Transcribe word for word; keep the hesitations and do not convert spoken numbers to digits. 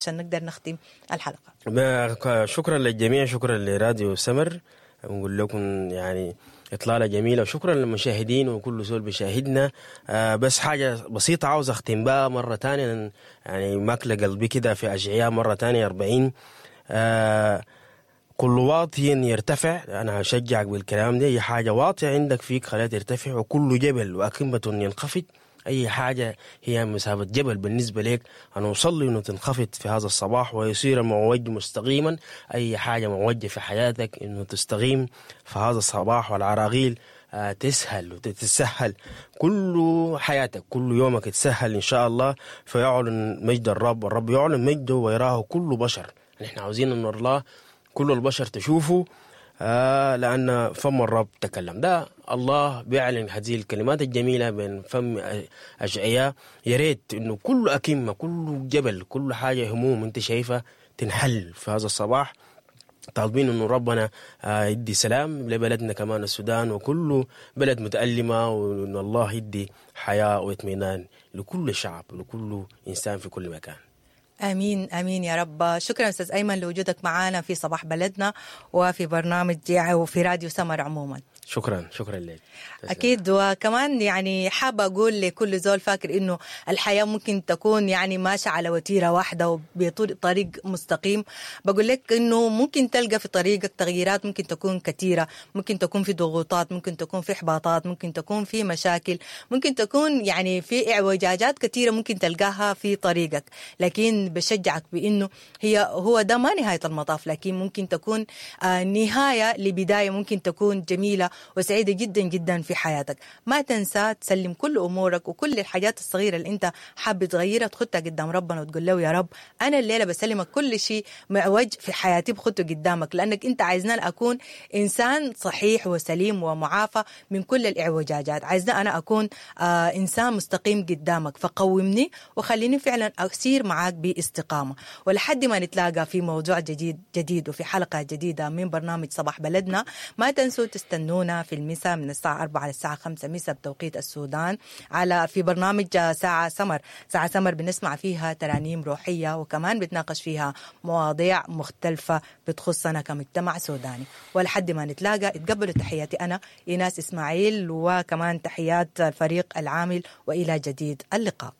عشان نقدر نختم الحلقة. شكرا للجميع، شكرا لراديو سمر، نقول لكم يعني إطلالة جميلة، وشكرا للمشاهدين وكل زول بيشاهدنا. آه بس حاجة بسيطة عاوز أختم بها مرة تانية، يعني ماكلة قلبي كده في أشعياء مرة تانية أربعين، آه كل واطي يرتفع. أنا هشجعك بالكلام ده، أي حاجة واطية عندك فيك خليها ترتفع، وكل جبل وأكمة ينخفض. أي حاجة هي مسافة جبل بالنسبة لك، أنا أصلي أنه تنخفض في هذا الصباح ويصير المعوج مستقيما. أي حاجة معوجة في حياتك أنه تستقيم في هذا الصباح، والعراقيل آه تسهل وتتسهل، كل حياتك كل يومك تسهل إن شاء الله. فيعلن مجد الرب، والرب يعلن مجده ويراه كل بشر. نحن عاوزين أن الله كل البشر تشوفه، آه لأن فم الرب تكلم. ده الله بيعلن هذه الكلمات الجميلة بين فم أشعياء. يا ريت إنه كل أكمة، كل جبل، كل حاجة هموم أنت شايفها تنحل في هذا الصباح. طالبين إنه ربنا آه يدي سلام لبلدنا كمان السودان وكل بلد متألمة، وإن الله يدي حياة واطمئنان لكل شعب ولكل إنسان في كل مكان. امين امين يا رب. شكرا استاذ ايمن لوجودك معنا في صباح بلدنا وفي برنامج وفي راديو سمر عموما. شكرا، شكرا لك. اكيد. وكمان يعني حابة اقول لكل زول فاكر انه الحياة ممكن تكون يعني ماشية على وتيرة واحدة وبطريق مستقيم، بقول لك انه ممكن تلقى في طريقك تغييرات، ممكن تكون كثيرة، ممكن تكون في ضغوطات، ممكن تكون في احباطات، ممكن تكون في مشاكل، ممكن تكون يعني في اعوجاجات كثيرة ممكن تلقاها في طريقك، لكن بشجعك بانه هي هو ده ما نهاية المطاف، لكن ممكن تكون نهاية لبداية ممكن تكون جميلة وسعيدة جدا جدا في حياتك. ما تنسى تسلم كل أمورك وكل الحاجات الصغيرة اللي أنت حابب تغيرها تخطها قدام ربنا وتقول له يا رب أنا الليلة بسلمك كل شيء معوج في حياتي بخطه قدامك، لأنك أنت عايزنا أكون إنسان صحيح وسليم ومعافى من كل الإعوجاجات، عايزنا أنا أكون آه إنسان مستقيم قدامك، فقومني وخليني فعلا أسير معاك باستقامة. ولحد ما نتلاقى في موضوع جديد جديد وفي حلقة جديدة من برنامج صباح بلدنا، ما تنسوا تستنونا في المساء من الساعة أربعة للساعة خمسة مساء بتوقيت السودان على في برنامج ساعة سمر. ساعة سمر بنسمع فيها ترانيم روحية وكمان بتناقش فيها مواضيع مختلفة بتخصنا كمجتمع سوداني. ولحد ما نتلاقى اتقبلوا تحياتي أنا إيناس إسماعيل، وكمان تحيات الفريق العامل، وإلى جديد اللقاء.